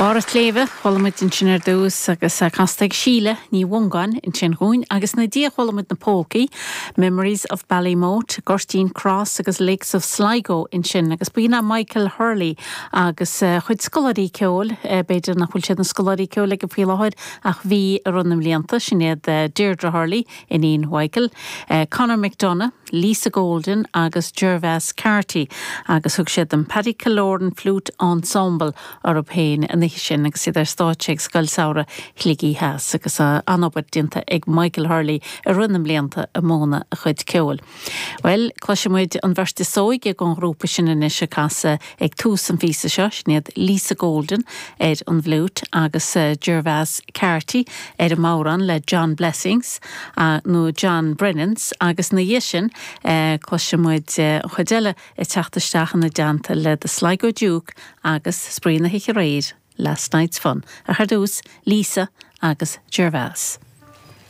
Barr an tSléibhe, chuala muid ansin ar dtús agus casta ag Síle Ní Mhongáin ansin dhúinn agus ina diaidh chuala muid na Pólcaí, Memories of Ballymote, Gurteen Cross agus Lakes of Sligo ansin agus b'in é Michael Hurley agus a chuid scoláirí ceoil, b'fhéidir nach bhfuil siad ina scoláirí ceoil aige faoi láthair ach bhí i rith na mblianta, sin iad Deirdre Hurley, iníon Mhichael, Conor McDonagh, Lisa Golden agus Gervase Carty agus thug siad an Paddy Killoran Flute Ensemble orthu féin an oíche sin agus iad ar stáitse ag Scoil Samhraidh Shligigh Theas agus an-obair déanta ag Michael Hurley i rith na mblianta ag múineadh a chuid ceoil. Bhuel, cloisfidh muid an bheirt is óige den ghrúpa sin anois ag casadh ag tús an phíosa seo, sin iad Lisa Golden ar an bhfliúit agus Gervase Carty ar an mbodhrán le John Blessings, nó John Brennans, agus ina dhiaidh sin cloisfidh muid an chuid eile ag teacht isteach ina dteannta le The Sligo Duke agus spraoi na hoíche aréir, Last Night's Fun. Ach ar dtús, Lisa agus Gervase.